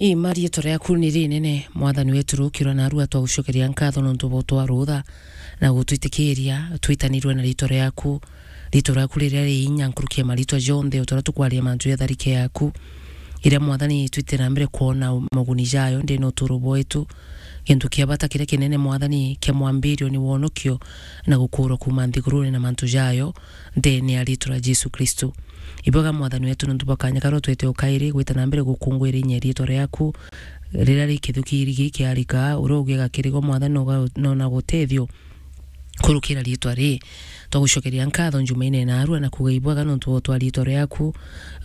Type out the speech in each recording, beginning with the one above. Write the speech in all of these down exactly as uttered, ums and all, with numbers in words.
Ii, ma riitwa riaku ni rinene, Mwathani wetu, rukirwa narua twagucokeria nkatho nontu bwa utwarutha na gutwitikiria twitanirwe na riitwa riaku. Riitwa riaku riria ri inya nkuruki ya mariitwa jonthe, uturia tukwaria mantu ja tharike yaku, iria, Mwathani, twite na mbere kwona moguni jayo ndene uturo bwetu. Gintu kia bata kiria kinene, Mwathani, kia mwambirio ni wonokio na gukuurwa kuuma nthigurune na mantu jayo, ndene ya riitwa ria Jesu Kristo. Ibwega, Mwathani wetu, nontu bwa kanya karia utwete o kairi gwita na mbere gukungwira inya riitwa riaku, riria ri kithuki irigi kiarika, uria ugiaga kirigwa, Mwathani, noga-, nona gutethio kurukira riitwa ri. Twagucokeria nkatho njumaine narua na kuuga ibwega nontu bwa utwari riitwa riaku.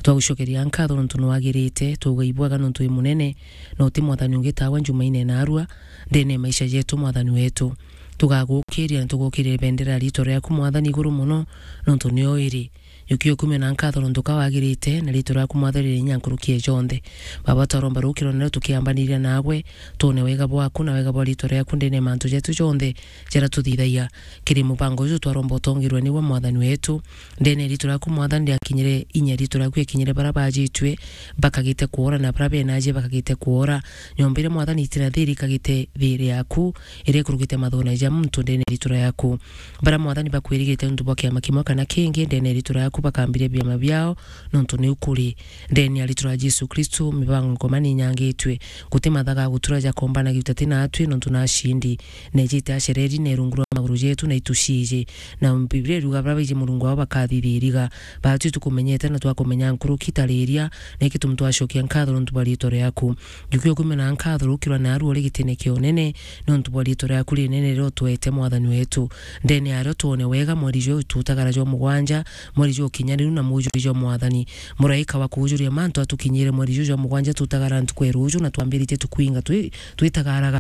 Twagucokeria nkatho nontu nwagirite, tuuga ibwega nontu wi munene, na uti Mwathani ungi tawe njumaine narua, ndene ya maisha jetu, Mwathani wetu. Tugagukiria na tugukiria bendera ya riitwa riaku, Mwathani, iguru mono, nontu nio iri. Jukia ukumio na nkatho nontu ka wagirite, na riitwa riaku, Mwathani, riri inya nkuruki ya jonthe. Baba, twaromba rukiro nario tukiambaniria nagwe, twone wega bwaku na wega bwa riitwa riaku ndene ya mantu jetu jonthe jaria tuthithagia. Kiri mubango uju twaromba utongirwe niwe, Mwathani wetu, ndene ya riitwa riaku, Mwathani, riakinyire inya riitwa riaku riakinyire baria bajitue, bakagite kwora, na baria benaje bakagite kwora. Nyomba iria, Mwathani, itina thiri ikagite thiri yaku, iria ikurukite mathuna ja muntu ndene ya riitwa riaku. Baria, Mwathani, bakwirigite nontu bwa kiama kimwe kana kingi, ndene ya riitwa riaku bakambiria biama biao, nontu niu kuri. Ndene ya riitwa ria Jesu Kristo, mibango ngoma ni inyangitue. Guti mathaga gutura jakombanagia utati natwi, nontu na acindi. Nejite acereri, ne rungu rwa maguru jetu, na ituciiji. Na Biblia iruga, baria baiji Murungu wao bakathithiriga. Batwi tukumenyete na twakumenya nkuruki tariria, na iki tumu twacokia nkatho nontu bwa riitwa riaku. Jukia ukumio na nkatho rukirwa narua uri gitine kia unene, nontu bwa riitwa riaku rinene riria utwete, Mwathani wetu. Ndene yario twone wega mweri juu tutagara jwa mugwanja, mweri jwa ukinyaniru na mujuri jwa Mwathani. Muraika wa kuujuria mantu atukinyire mweri juu jwa mugwanja tutagara ntuku ya ruju na twambiritie tukwinga twi-, twitagaraga.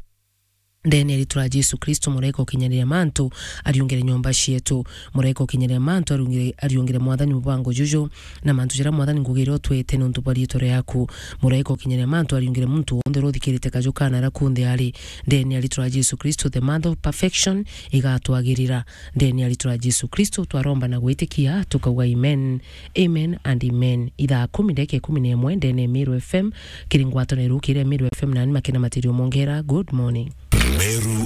Ndene ya riitwa ria Jesu Kristo, muraika ukinyaniria mantu ariungire nyomba cietu. Muraika ukinyaniria mantu ariungire, ariungire, Mwathani, mubango juju, na mantu jaria, Mwathani, ngugi iria utwete nontu bwa riitwa riaku. Muraika ukinyaniria mantu ariungire muntu wonthe uria uthikirite kaju kana aria kunthe ari. Ndene ya riitwa ria Jesu Kristo, the mother of perfection, igatwagirira. Ndene ya riitwa ria Jesu Kristo twaromba na gwitikia, tukauga amen. Amen and amen. Ithaa kumi ndagika ikumi na imwe ndene ya Meru F M, kiri ngwataniro iria Meru F M nani Makena Matirio Mongera. Good morning. Meru